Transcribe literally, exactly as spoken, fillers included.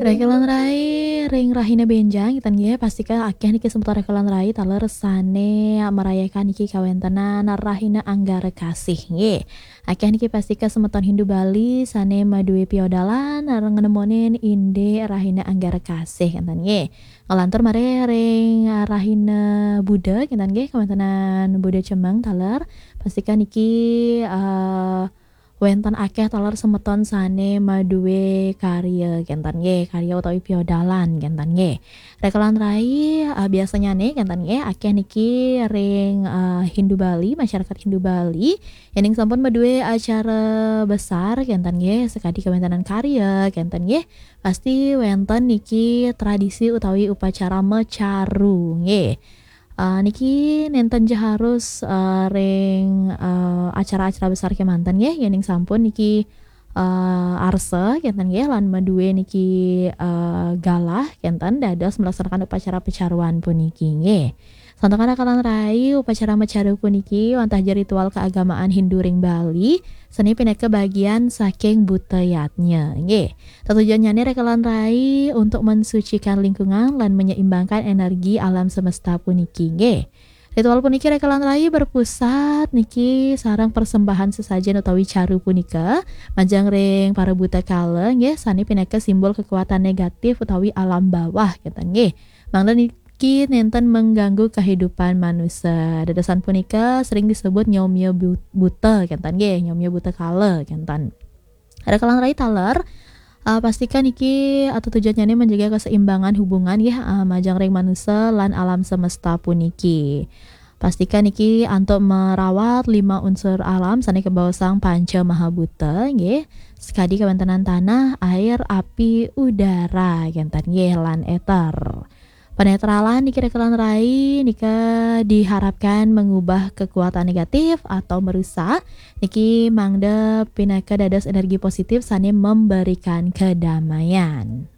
Rekelan rai ring rahina benjang, kinten nggih, pastika akéh niki semeton rekelan rai taler sané merayakan niki kawéntenan rahina Anggara Kasih nggih. Akéh niki pastika semeton Hindu Bali sané madué piodalan ngrengnemonin indik rahina Anggara Kasih, kinten nggih. Ngelantur malih ring rahina Buda, kinten nggih, kawéntenan Buda Cemeng taler, pastika niki eh, wénten akéh taler semeton sané madué karya, kinten nggih, karya utawi piodalan, kinten nggih. Rekelan rai eh, biasanya nih, kinten nggih, akéh niki ring eh, Hindu Bali, masyarakat Hindu Bali, yéning sampun madué acara besar, kinten nggih, sakadi kawéntenan karya, kinten nggih, pasti wénten niki tradisi utawi upacara mecaru nggih. Eh, niki nénten ja harus eh, ring eh, acara-acara besar kémanten nggih, yéning sampun niki eh, arsa, kinten nggih, lan madué niki eh, galah, kinten, dados melaksanakan upacara pecaruan puniki nggih. Santukan rekelan rai, upacara mecaru puniki wantah ja ritual keagamaan Hindu ring Bali, sané pinaka bagian saking buta yadnya nggih. Tetujuannyané rekelan rai untuk mensucikan lingkungan lan menyeimbangkan energi alam semesta puniki nggih. Ritual puniki rekelan rai berpusat niki sareng persembahan sesajen utawi caru punika majeng ring para buta kala nggih, sané pinaka simbol kekuatan negatif utawi alam bawah, kinten nggih. Mangda niki nénten mengganggu kehidupan manusia. Dadosan punika sering disebut nyomia bu- buta, kinten nggih, nyomia buta kala, kinten. Rekelan rai taler, eh, pastika niki eh, tetujuannyané menjaga keseimbangan hubungan nggih eh, majeng ring manusia lan alam semesta puniki. Pastika niki antuk merawat lima unsur alam sané kabaosang panca mahabuta nggih. Sakadi kawéntenan tanah, air, api, udara, kinten nggih, lan éter. Penetralan niki rekelan rai nika diharapkan mengubah kekuatan negatif atau merusak niki mangda pinaka dados energi positif sané memberikan kedamaian.